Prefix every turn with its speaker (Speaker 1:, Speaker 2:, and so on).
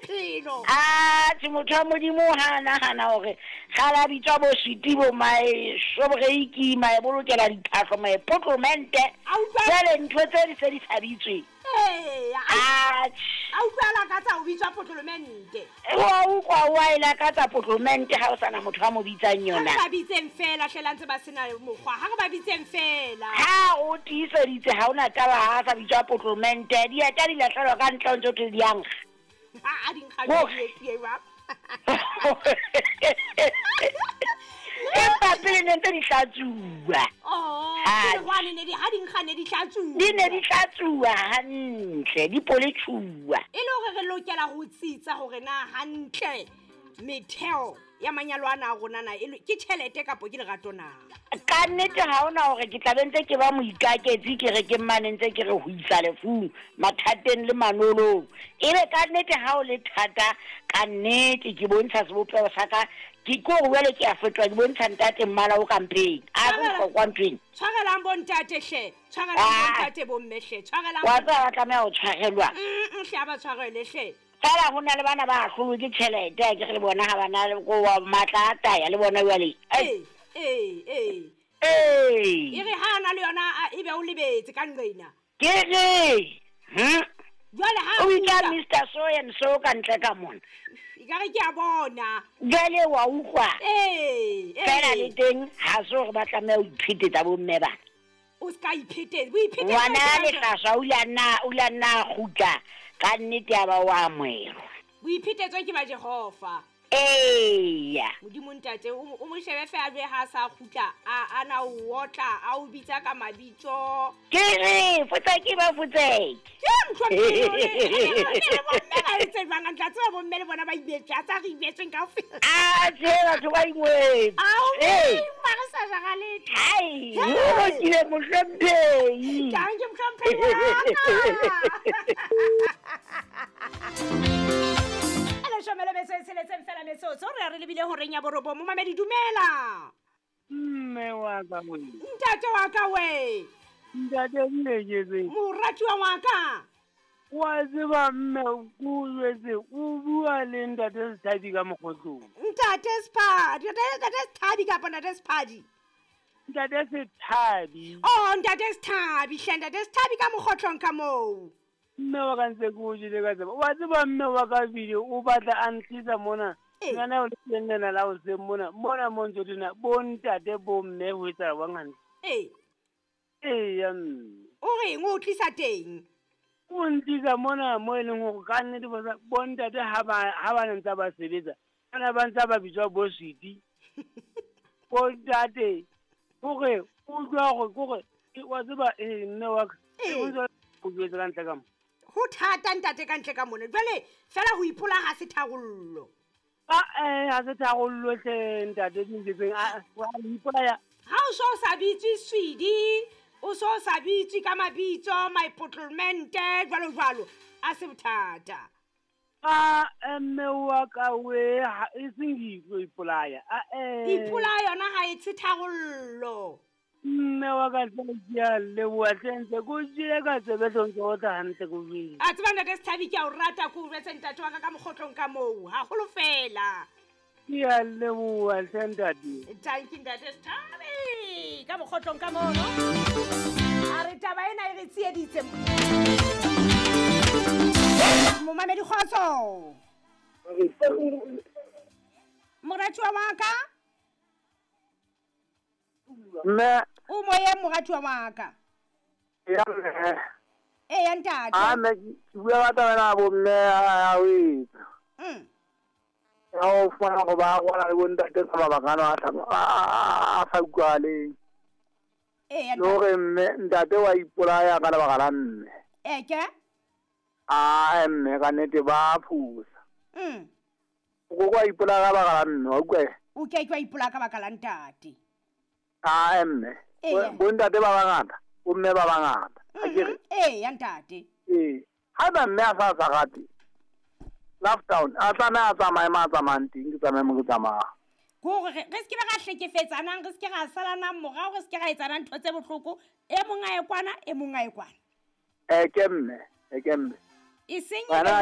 Speaker 1: bophelo.
Speaker 2: Atjhe, motho wa Modimo ha a nahana hore kgale a bitswa bo sweety, bo mae shobreiki, mae bolokela diphahlo, mae potlomente.
Speaker 1: A utlwa-
Speaker 2: Jwale ntho tse di se di sa bitswe.
Speaker 1: Ee, a
Speaker 2: Atjhe.
Speaker 1: a utlwa a lakatsa ho bitswa potlomente.
Speaker 2: Wa utlwa wa e lakatsa potlomente ha o sana motho a mo bitsang
Speaker 1: Ha re
Speaker 2: yona.
Speaker 1: ba bitseng fela hle la ntse ba sena mokgwa. Ha re ba bitseng fela.
Speaker 2: Ha o tiiseditse ha ona taba ha a sa bitswa potlomente, dieta di lahlelwa ka ntle o ntso thwe di a nkga.
Speaker 1: Ha a di nkga
Speaker 2: Ho-
Speaker 1: jwang, di jwang?
Speaker 2: Empa pele ne ntse di hlatsuwa.
Speaker 1: Oh,
Speaker 2: Atjhe.
Speaker 1: pele hwane ne di ha di nkga ne di hlatsuwa.
Speaker 2: Di ne di hlatsuwa hantle, di poletjhuwa.
Speaker 1: E le hore re lokela ho tsitsa hore na hantle metheo ya manyalo ana a rona na e ke tjhelete kapo ke lerato na.
Speaker 2: Ka nnete ha hona hore ke tla be ntse ke ba moikaketsi ke re ke mmane ntse ke re ho isa lefung, mathateng le manolong. Ebe ka nnete ha o le thata, ka nnete ke bontsha sebopeho sa ka, ke ke hore jwale ke a fetoha ke bontsha ntate mmala o ka mpeng. A
Speaker 1: Tshwarela-
Speaker 2: bohlokwa nthweng.
Speaker 1: Tshwarelang bo ntate hle, tshwarelang bo
Speaker 2: Ah.
Speaker 1: ntate bo mme hle, tshwarelang
Speaker 2: Wa tseba ba tlameha ho tshwarelwa.
Speaker 1: Hle ha ba tshwarele hle.
Speaker 2: Fela ho na le bana ba ahlolwe ke tjhelete, ha ke re le bona ha bana le ko wa matla a taya le bona jwale. Ai.
Speaker 1: Ee, ee, ee.
Speaker 2: Ee.
Speaker 1: E re ha a na le yona a ebe o lebetse ka nqena.
Speaker 2: Ke re,
Speaker 1: Jwale ha a
Speaker 2: O bitsa
Speaker 1: kgutla,
Speaker 2: Mr. So and so ka ntle ka mona.
Speaker 1: ekare ke a bona.
Speaker 2: Jwale wa utlwa.
Speaker 1: Ee, ee.
Speaker 2: Fela le teng ha se hore ba tlameha ho iphetetsa bo mme bana.
Speaker 1: O ska iphetetsa, boiphetetso
Speaker 2: Ngwana
Speaker 1: ke ba jwang?
Speaker 2: lehlaswa o ile a nna, o ile a nna a kgutla ka nnete ya ba wa amohelwa.
Speaker 1: Boiphetetso ke ba Jehova.
Speaker 2: Eya.
Speaker 1: Modimo ntate o mo shebe feela jwe ha a sa kgutla a na o otla a o bitsa ka mabitso.
Speaker 2: Ke re fotseke ba fotseke.
Speaker 1: Ke mohlomphehi o le bomme ba etse jwang a tla tseba bomme le bona ba ibetswe a tsa re ibetsweng kaofela.
Speaker 2: Atjhe batho ba ingwetse.
Speaker 1: Ao
Speaker 2: Ee.
Speaker 1: mma re sa jara letho.
Speaker 2: Hai, o lokile mohlomphehi.
Speaker 1: Tang ke mohlomphehi wa ka. Leshome le metso e tsheletseng fela metsotso re ya re lebile horeng ya borobong. Momamedi dumela.
Speaker 3: Mme wa ka we.
Speaker 1: Ntate wa ka we.
Speaker 3: Ntate Nleketseng.
Speaker 1: Moratuwa wa ka.
Speaker 3: Wa tseba mme ko jwetse o bua le ntate Sethabi ka mokgotlong.
Speaker 1: Ntate Sephadi, ntate Sethabi kapa ntate Sephadi?
Speaker 3: Ntate Sethabi.
Speaker 1: Oh, ntate Sethabi hle, ntate Sethabi ka mokgotlong ka moo.
Speaker 3: Mme wa ka ntse ke o jele ka tseba. Wa tseba mme wa ka bile o batla a ntlisa mona.
Speaker 1: Ee.
Speaker 3: Ngwana o le teng lena la hoseng mona. Mona mo ntso thona bo ntate bo mme ho etsahala jwang hantle.
Speaker 1: Ee.
Speaker 3: Eya mme.
Speaker 1: O reng o tlisa teng?
Speaker 3: O ntlisa mona mo e leng hore ka nnete bo ntate ha ba ne ntse ba sebetsa. Bana ba ntse ba bitswa bo sweety. Bo ntate hore o utlwa hore kore wa tseba mme wa ka.
Speaker 1: Ee.
Speaker 3: O ntse o jwetse ka ntle ka mo.
Speaker 1: Ho thata ntate ka ntle ka mona. Jwale fela ho ipola ha se tharollo.
Speaker 3: Ah ha se tharollo hle ntate Nleketseng. Ah wa ipolaya.
Speaker 1: Ha o so sa bitswe Swidi, o so sa bitswe ka mabitso, maipotlomente jwalo jwalo, a se bothata.
Speaker 3: Ah mme wa ka we ha e seng ke tlo ipolaya. Ah
Speaker 1: Ipolaya yona ha e se tharollo.
Speaker 3: Mme wa ka hle ke a leboha hle ntse ko jele ka tsebe hle ntse o tla hantle ko jwetse.
Speaker 1: A tseba ntate Sethabi ke a o rata ko o jwetse ntate wa ka ka mokgotlong ka moo, haholo fela.
Speaker 3: Ke a leboha hle ntate.
Speaker 1: Thank you ntate Sethabi ka mokgotlong ka mono. A re taba ena e re tsieditse. Momamedi kgotso. Moratuwa wa ka?
Speaker 4: Mme.
Speaker 1: O moyeng moratuwa wa ka.
Speaker 4: Ya mme.
Speaker 1: Eya ntate.
Speaker 4: Ah mme ke bua ka taba ena ya bo mme ya ho etsa. Ya ho fumana hore ba rwala le bo ntate ka mabaka ana a sa utlwahaleng.
Speaker 1: Eya
Speaker 4: Le hore mme ntate wa ipolaya ka lebaka la mme.
Speaker 1: E ke?
Speaker 4: Ah mme ka nnete ba phusa. O ko wa ipolaya ka lebaka la mme, wa utlwa?
Speaker 1: O ke ke wa ipolaya ka baka la ntate.
Speaker 4: Ah mme.
Speaker 1: Eya.
Speaker 4: Bo ntate ba bangata, bo mme ba bangata. Akere?
Speaker 1: Eya ntate.
Speaker 4: Ee. Haeba mme a sa rate Lovedown, a tlameha a tsamaye ma a tsamayang teng, ke tsamaye mo ke tsamayang.
Speaker 1: Ke hore re se ke be ra hlekefetsanang, re se ke ra salanang morao, re se ke ra etsana ntho tse bohloko. E mong a ye kwana, e mong a ye kwana.
Speaker 4: Ke mme, ke mme.
Speaker 1: E seng
Speaker 4: Ngwana
Speaker 1: ebe